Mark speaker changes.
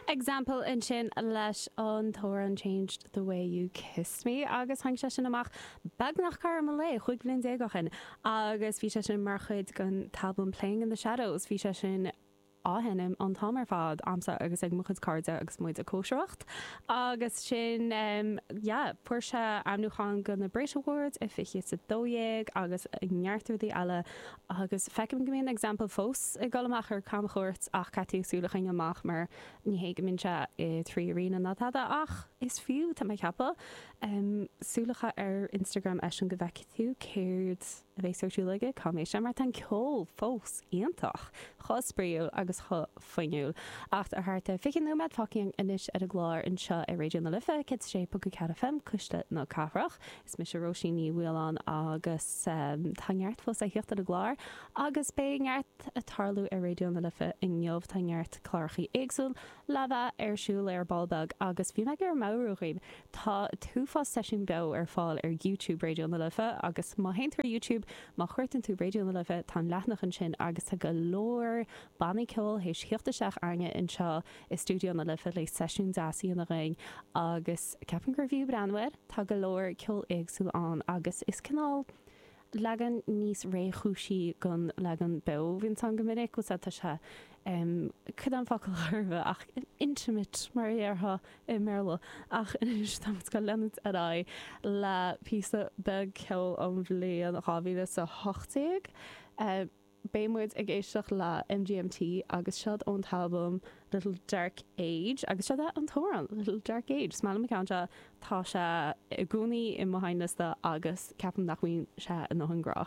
Speaker 1: Example ansin leis an t-amhrán Changed the Way You Kissed Me agus tháinig sé sin amach beagnach cothrom an lae, 15 bhliain ó shin agus bhí sé sin mar chuid den t-albam Playing in the Shadows. Bhí sé sin á sheinm an t-am ar fad a'msa agus ag mo chuid cairde agus muid ag cóisireacht agus sin yeah fuair sé ainmniúchán go na Brit Awards i 2012 agus neart rudaí eile agus feicim go mbíonn Example fós ag dul amach ar camchuairt ach caithfidh tú súil a choinneáil amach mar ní hé go mbíonn sé i 3 Arena ná tada ach is fiú tá mé ag ceapadh súil a chaitheamh ar Instagram eisean go bhfeicfidh tú céard a bheas ar siúl aige, cá mbeidh sé, mar tá an ceol fós iontach, chomh spraíúil agus chomh fuinniúil. Ach tá thart ar 20 nóiméad fágtha againn anois ar an gclár anseo ar Raidió na Life, 106.4 FM, Cuisle na Cathrach. Is mise Róisín Ní Mhaoláin agus tá neart fós le theacht ar an gclár agus beidh neart ag tarlú ar Raidió na Life inniu. Tá neart clárachaí éagsúil le bheith ar siúl ar ball beag agus bhí mé ag iarraidh meabhrú dhaoibh, tá an t-uafás seisiún beo ar fáil ar YouTube Raidió na Life agus má théann tú ar YouTube, má chuartaíonn tú Raidió na Life, tá an leathanach ansin agus tá go leor bannaí ceoil théis theacht isteach againne anseo i stiúideo na Life le seisiún deas a dhéanamh dhúinn agus ceapaim gur bhfiú breathnú air, tá go leor ceol éagsúil ann agus is cineál. leagan níos réchúisí den leagan beo a bhíonns ann go minic, bhfuil 's a'd, tá sé, em, cad é an focal chóir ach intimate mar a déarfá i mBéarla. Ach anois tá muid ag dul leanúint ar aghaidh le píosa beag ceoil ón bhliain 2018. Eh, beidh muid ag éisteacht le MGMT agus seod ón t-albam Little Dark Age agus seod é an t-amhrán Little Dark Age. Is maith liom an ceann seo, tá sé i gcónaí i mo sheinnliosta agus ceapaim nach mbíonn sé i ndóthain grá.